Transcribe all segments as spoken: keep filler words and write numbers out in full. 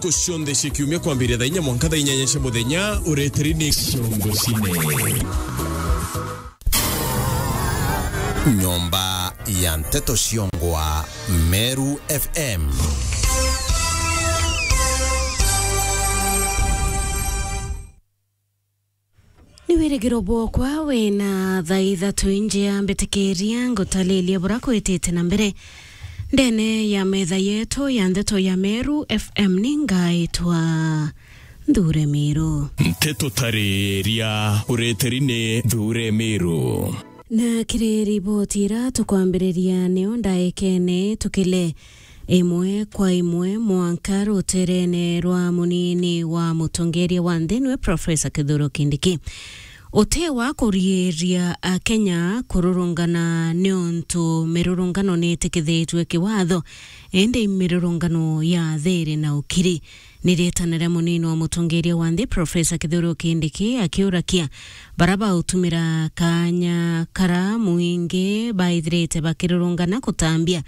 Ntuku cionthe cia kiumia kwambiria thaa inya mwanka thaa inyanya cia muthenya, ureteri ni Ciongo Cine. Nyomba ya Nteto Ciongwa, Meru F M. Ni wirigiro bwokwa wina thaa ithatu injia, mbitikiria ngutaririe bura kwitite na mbere ndene ya metha yetu ya ndeto ya Meru F M. Ni ngaitwa Nthure Miru. Nteto tariria ureteri ni Nthure Miru. Na kiri riboti ira tukwambiriria nio ndaikene tukile imwe kwa imwe mwanka ruterene rwa munini wa mutongeria wa nthi niwe Professor Kithure Kindiki. Uti wa kuriiria Akenya kururungana niuntu mirurungano niitikithitue kiwatho, indi mirurungano ya thiri na ukiri. Ni riitana ria munini wa mutongeria wa nthi Professor Kithure Kindiki akiurakia bara bautumira kaanya kara mwingi baithirite bakirurungana kutambia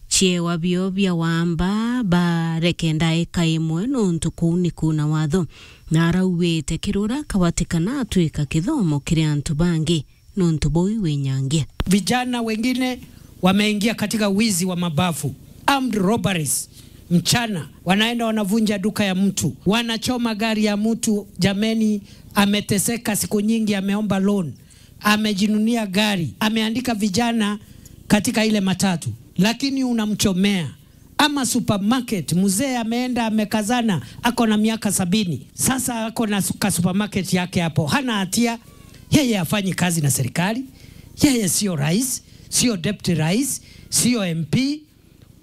ciewa bio bia wamba bareke ndaika imwe nuntu kuu ni kuuna watho. Na arauwite kirura kawatikana atwika kithomo kiri antu bangi nuntu buu winyangia. Vijana wengine wameingia katika wizi wa mabafu, armed robberies, mchana wanaenda wanavunja duka ya mtu, wanachoma gari ya mtu. Jameni, ameteseka siku nyingi, ameomba loan, amejinunia gari, ameandika vijana katika ile matatu, lakini unamchomea. Ama supermarket, mzee ameenda amekazana, ako na miaka sabini. Sasa ako na su-, ka supermarket yake hapo. Hana hatia. Yeye hafanyi kazi na serikali. Yeye sio rais, sio deputy rais, sio M P.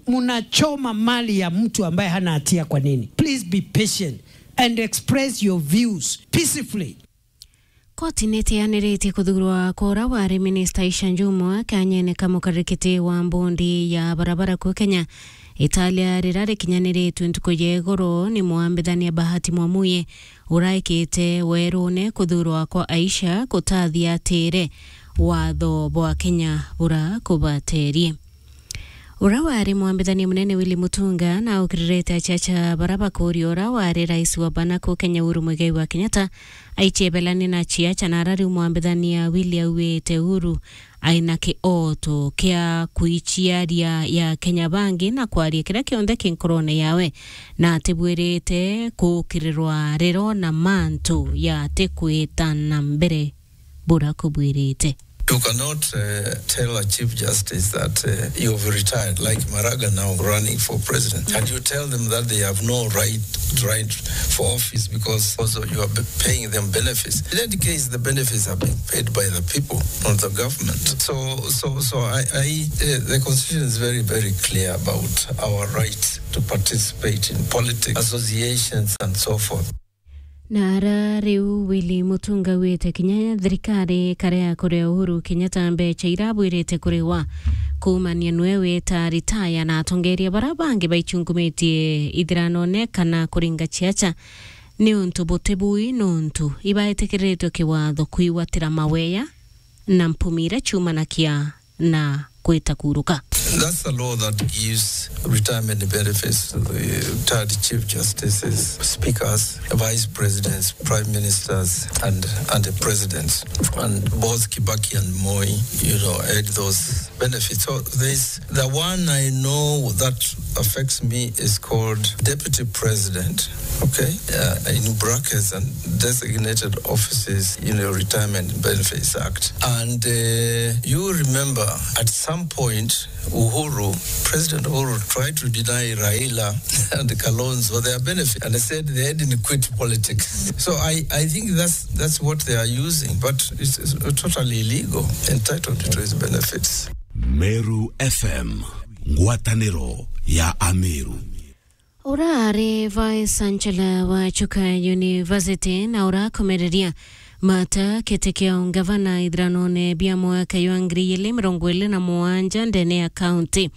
Munachoma mali ya mtu ambaye hana hatia kwa nini? Please be patient and express your views peacefully. Koti nitianiritie kuthurwa kwa uria wari minista Aisha Jumwa kanyene ka mukarikiti wa mbondi ya barabara ku Kenya. Italia rira rikinyaniritue ntuku ya igoro ni mwambithania Bahati Mwamuye uraikite werune kuthurwa kwa Aisha kutathia atire watho bwa Kenya bura kubaterie. Uria wari mwambithania munene Willy Mutunga na aukiririte aciaca bara bakuria uria wari rais wa bana ku Kenya Uhuru Muigai wa Kenyatta aichebelani na aciaca, na ara riu mwambithania Willy auite Uhuru aina kioto kia kuiciaria ya Kenya bangi na kwaria kiria kionthe ki nkorone yawe, na atibwirite kukirirwa riro na mantu ya atikwita na mbere bura kubwirite. You cannot uh, tell a chief justice that uh, you've retired, like Maraga now running for president, and you tell them that they have no right, right for office because also you are be- paying them benefits. In any case, the benefits are being paid by the people, not the government. So, so, so I, I uh, the constitution is very, very clear about our right to participate in politics, associations, and so forth. Na ara riu Willy Mutunga auite kinya thirikari ikare ya kuria Uhuru Kenyatta mbecha ira abwirite kuriwa kuumania nwe wita ritaya na atongeria bara bangi baichungumitie ithiranone kana kuringa ciaca niuntu buti bui nuntu ibaetikiriritwe kiwatho kwigwatira maweya na mpumi ira ciumanakia na gwita kuruka. That's a law that gives retirement benefits to the retired chief justices, speakers, vice presidents, prime ministers, and, and the presidents. And both Kibaki and Moi, you know, had those benefits. So there's the one I know that affects me is called deputy president, okay, uh, in brackets, and designated offices in the Retirement Benefits Act. And uh, you remember at some point, Uhuru, President Uhuru tried to deny Raila and Kalonzo their benefit and said they hadn't quit politics. So I, I think that's, that's what they are using, but it's, it's totally illegal, entitled to his benefits. Meru F M, ngwataniro ya Ameru. Ura ari Vice Chancellor wa Chuka University na urakomereria mata kiti kia ungavana ithiranone bia mwaka jwa ngiri igiri mirongo iri na mugwanja ndene ya kaunti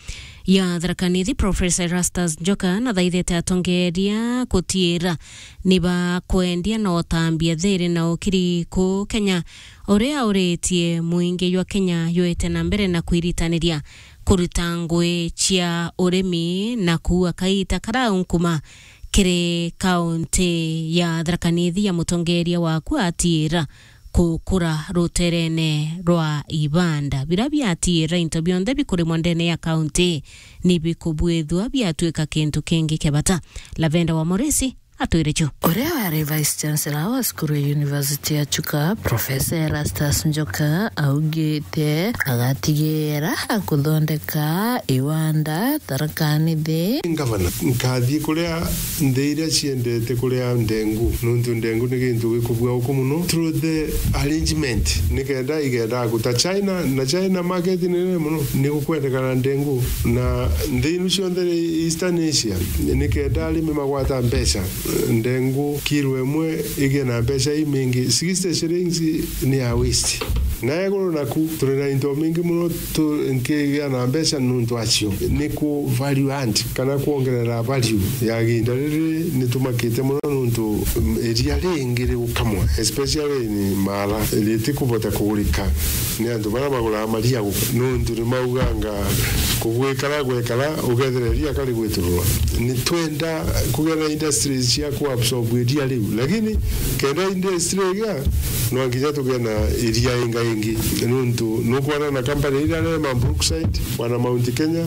ya Tharaka Nithi, Professor Erastus Njoka, nathaithite atongeria kutiira ni bakwendia na utambia thiri na ukiri ku Kenya, uria auritie muingi jwa Kenya jwite na mbere na kwiritaniria kuruta ngui cia urimi na kuua kaita karaunkuma kiri kaunti ya Tharaka Nithi ya mutongeria waku atiira kukura ruterene rwa Ibanda. Bira biatiira into bionthe bikurimwa ndene ya kaunti ni bikubwithua biatwika kintu kingi kia bata. Lavenda wa Morisi atwire ju. Uria wari Vice Chancellor wa cukuru ya University ya Chuka, Professor Erastus Njoka, augite agatigira kuthondeka iwanda Tharaka Nithi. Ngavana, nkathii kuria nthi iria ciendete kuria ndengu, nontu ndengu ni gintu gikubua uku muno through the arrangement, nikenda igenda guta China, na China market ni nene muno, ni gukwendekana ndengu, na nthi inu cionthe Eastern Asia, nikenda arimi magwata mbeca, ndengu kilo imwe igie na mbeca imingi, sixty shillings ni ya waste. Na iguru naku, turi na into mingi muno tu-, nkigia na mbeca nuntu acio. Ni ku value add, kana kwongerera value ya ginda riri, ni tumakite muno nuntu, mm, iria ringi rigukamwa, especially ni Mara, ritikubota kugurika ni antu baria baguraga maria guku, nuntu ni mauganga kugwikara gwekara, ugethira iria kari gwitururwa. Ni twenda kugia na industries cia ku absorb iria riu, lakini kenda industry igia, no nginya tugie na iria inga ingi, nuntu nukwona na company iria nene ma Brookside, wana Mount Kenya,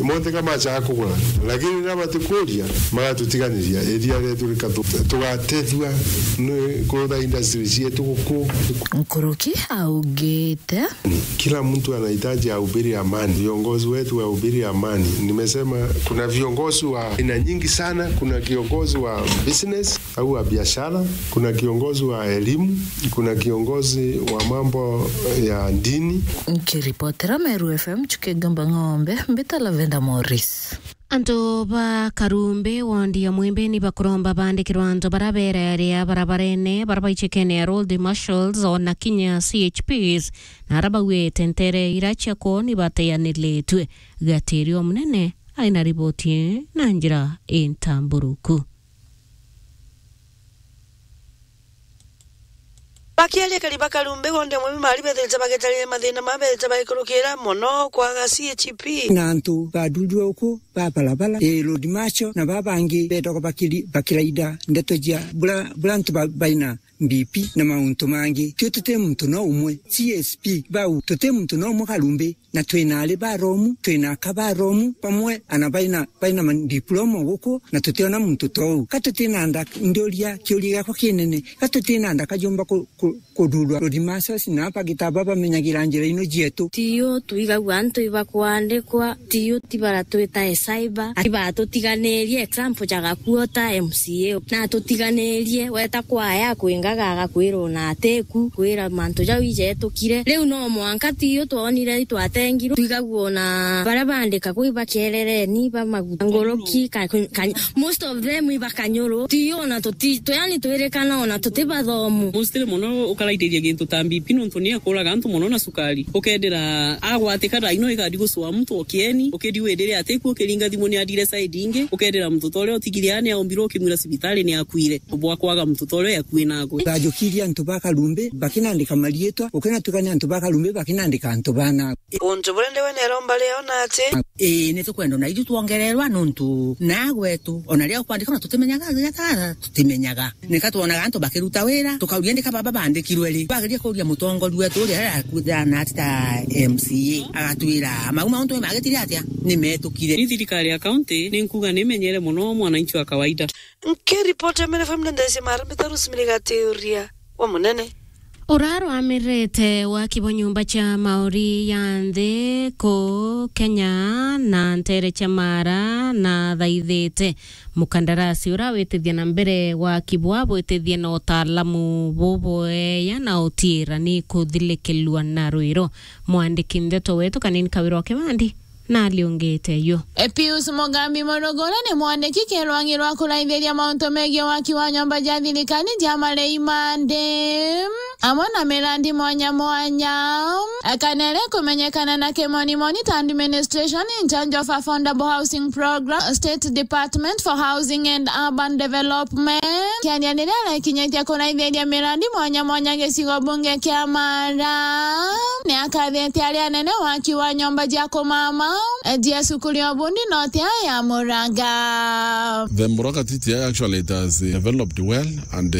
monthe ka machaga kugura, lakini riria batikuria, magatutiganiria iria rietu rikathu-, tugatethua ni kurutha industry cietu guku. Nkuruki augite, kila mtu anahitaji ahubiri amani, viongozi wetu wahubiri amani. Nimesema kuna viongozi wa aina nyingi sana, kuna kiongozi wa business au wa biashara, kuna kiongozi wa elimu, kuna kiongozi wa mambo ya dini. Nkiripotera Meru F M, Chuki Gamba Ng'ombe, mbita Lavenda Morris. Antu ba Karumbi, wondi ya Mwimbi, ni bakuromba bandikirwa antu bara bereria barabarene, bara baichikene ya Road Marshals, ona kinya C H Ps, na ara bauite ntere ira cia kwoni bateanilitue. Gatirio munene aina riboti na njira intamburuku. Bakiaria kari ba Karumbi, wondi ya Mwimbi, mari bethirite bagitaria mathina ma bethirite bagikurukira mono kwaga C H P. Na antu bathurue uku ba barabara, ii, Road Marshal, na babangi bethagwa bakiri-, bakiraida ndeto cia bura, bura antu ba-, baina B P na mauntu mangi. Tio tuti muntu no umwe, C S P bau, tuti muntu no umwe Karumbi. Na twina ari baromu, twina aka baromu, bamwe ana baina, baina ma-, diploma guku, na tutiona muntu tou. Ka tutina nda-, nduria, kiuria giakwa kinene, ka tutina ndaka jumba ku-, ku-, kuthurwa Road Marshals na bagita bamenyagira njira ino jietu? Tiyo twigagua antu ibakwandikwa, tiyo tibaratwita cyber, ati batutiganirie example ja gakuota M C A. Na tutiganirie, weta kwaya kwingaga agakwira ona atiku, kwira mantu jau ijetukire. Riu no mwanka tiyo twonire itwatengirwe, twigagua ona baria bandikagwa ibakerereni, ba maguta, nguruki, ka-, ka-, most of them ibakanyuru. Tiyo ona tuti, tu-, yani twirikana ona tuti bathomu. Mostly mono ukaraithiria gintu ta B P nontu ni akuraga antu mono na cukari. Ukendira agwatika thaa ino igadi gucua muntu o kieni, ukiri windire atiku ukiringa thimu ni adire side ingi, ukendira muntu ta uria utigire aa ni aumbirwe ukimwira cibitari ni akuire. Bwa kwaga muntu ta uria akui nagwe. Bajukirie antu ba Karumbi, bakinandika mariitwa, ukinatuka ni antu ba Karumbi, bakinandika antu bana. Untu buria ndiwe neromba rio na ati. Ii, ni tukwenda na ithu twongererwa nontu na gwetu, ona ria kwandika ona tutimenyaga, ria ta-, tutimenyaga. Nika twonaga antu bakiruta wira, tukauria ndika baba bandikirwe ri? Twageria kuria mutongoria wetu uria akuthana ati ta M C A, agatwira, "Mau mauntu ni magitire atia? Ni metukire." Ni thirikari ya kaunti, ni nkuga ni menyere mono mwananchi wa kawaida. Nkiripoti ya Meru F M nende cia Mara, Mitaru Simiriga Tiuria wa Munene. Uraruamirite waki bwa nyumba cia mauri ya nthi ku Kenya na ntere cia Mara na thaithite mukandarasi uria witithia na mbere waki bwa bwitithia na utaalamu bubwea na utiira ni kuthilikilua na rwiro. Mwandiki ndeto wetu Kanini Kawira wa Kibandi na aliongete yo. E, Pius Mugambi Murugura ni mwandiki kirwangi rwa kuraithiria mauntu megii waki wa nyomba ja thirikari ja marei ma nthi. amwe na mirandi mwanya mwanya. Kana iria ikumenyekana na kimonimoni ta Administration in Charge of Affordable Housing Program, State Department for Housing and Urban Development, kiaria riria arakinyitie kuraithiria mirandi mwanya mwanya gicigo bunge kia Mara, ni akathite aria anene waki wa nyomba cia kumama, jia cukuru ya ubundi notia ya Muraga. The Muraga T T I actually, it has, uh, developed well, and, uh,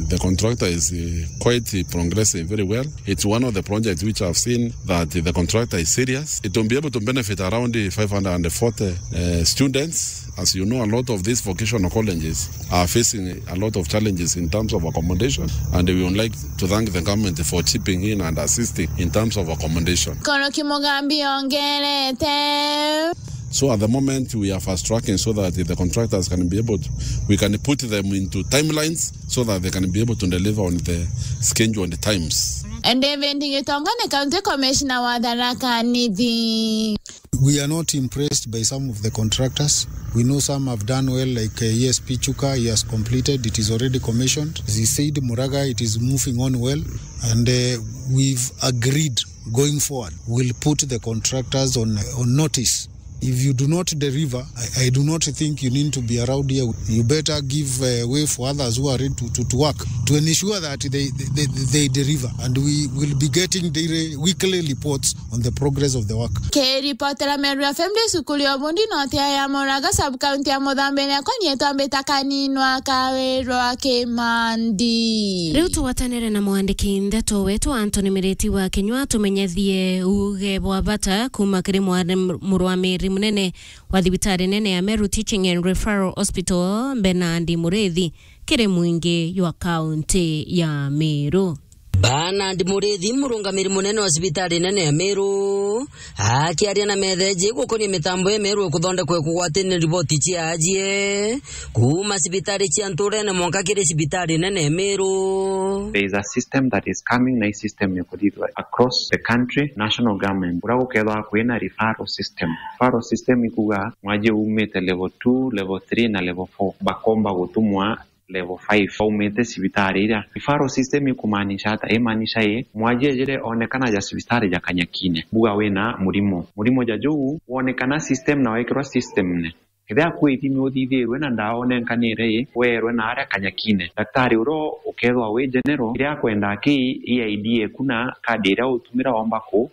the contractor is, uh, quite progressing very well. It's one of the projects which I've seen that the contractor is serious. It will be able to benefit around five hundred and forty, uh, students. As you know, a lot of these vocational colleges are facing a lot of challenges in terms of accommodation, and we would like to thank the government for chipping in and assisting in terms of accommodation. Koroki Mugambi ongerete. So at the moment, we are fast tracking so that the contractors can be able to, we can put them into timelines so that they can be able to deliver on the schedule and times. David Gitonga ni County Commissioner wa Tharaka Nithi. We are not impressed by some of the contractors. We know some have done well, like, uh, E S P Chuka, he has completed, it is already commissioned. As he said, Muraga, it is moving on well, and, uh, we've agreed going forward, we'll put the contractors on, on notice. If you do not deliver, I, I do not think you need to be around here. You better give, uh, way for others who are ready to, to, to work, to ensure that they, they, they, they deliver. And we will be getting daily, weekly reports on the progress of the work. Kiripotera Meru F M ndi cukuru ya ubundi notia ya Muraga, sub county ya Muthambi, iria kwanyitwa mbita Kaninwa Kawirwa Kimandi. Riu tugwatanire na mwandiki ndeto wetu Anthony Miriti wa Kinyua, tumenyethie uuge bwa bata kuuma kiri mwari-, murwamiri munene wa thibitari nene ya Meru Teaching and Referral Hospital, Bernard Murithi, kiri mwingi jwa kaunti ya Meru. Bernard Murithi, murungamiri munene wa cibitari nene ya Meru, akiaria na metheji gukonia mitambo ya Meru ikuthondekwa kugwatania riboti cia ajie kuuma cibitari cia nturene mwanka kiri cibitari nene ya Meru. There is a system that is coming, na i system ya kuthithwa across the country, national government. Uria gukethwa kwina referral system. Referral system ikuga mwaji umite level two, level three na level four, bakomba gutumwa level five, baumite cibitari iria. Referral system ikumaanisha ata? Imaanisha ii, mwaji ejire onekana ja cibitari ja Kanyakine, buga wina murimo. Murimo ja juu wonekana system na wekirwa system ne. Kethira kwi ithimi uthithirwe na ndawa unenkanire ii, weerwe na aria Kanyakine. Daktari uria ukethwa wi general, kiria akwenda ki E I D eku na kadi iria utumira omba ku,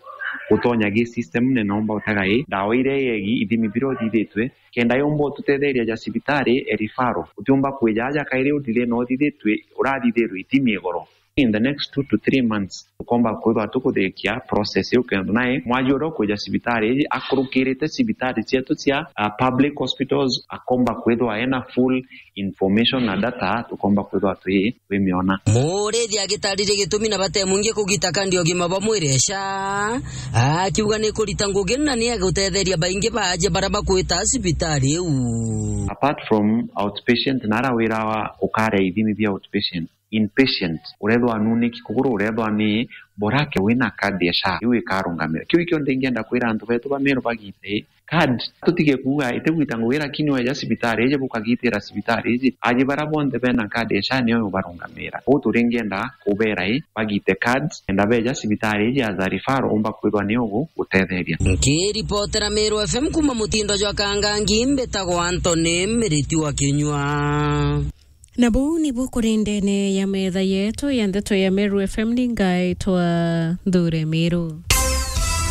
gutonya gi system ne nomba utega ii, ndawa iria iegi ithimi biria uthithitwe, kenda yumba ututetheria ja cibitari e referral. Utiumba kwija aja kairi uthithie na uthithitwe, urathithirwe ithimi igoro. In the next two to three months, tukomba kwithwa tukuthikia process iu kenda nae mwaji uria ukwija cibitari iji akurukirite cibitari cietu cia, uh, public hospitals, akomba kwithwa ena full information na data, tukomba kwithwa twi, twimiona. Murithi agitariria gitumi na bate mwingi kugita kandi ugima bwa mwiri SHA, akiuga ni kurita ngugi na ni agutetheria baingi ba aja baria bakwita cibitari iu. Apart from outpatient, na ara wira wa ukaria ithimi bia outpatient, inpatient, urethwa nuniki kuguru, urethwa ni borake wina kadi ya SHA, iu ikarungamira. Kiu ikio ndingienda kwira antu betu ba Meru bagite card. Tutige kuuga itigwita ngugi, lakini weja cibitari iji bukagitira cibitari iji, aji bara bonthe bena card ya SHA nio ubarungamira. Uu turingienda kubera i bagite card, kenda beja cibitari iji as a referral umba kwithwa ni ugu gutetheria. Nkiripotera Meru F M kuma mutindo jwa Kangangi, mbitagwa Anthony Miriti wa Kinyua. Na buu nibu kuri ndene ya metha yetu ya ndeto ya Meru F M, ni ngaitwa Nthure Miru.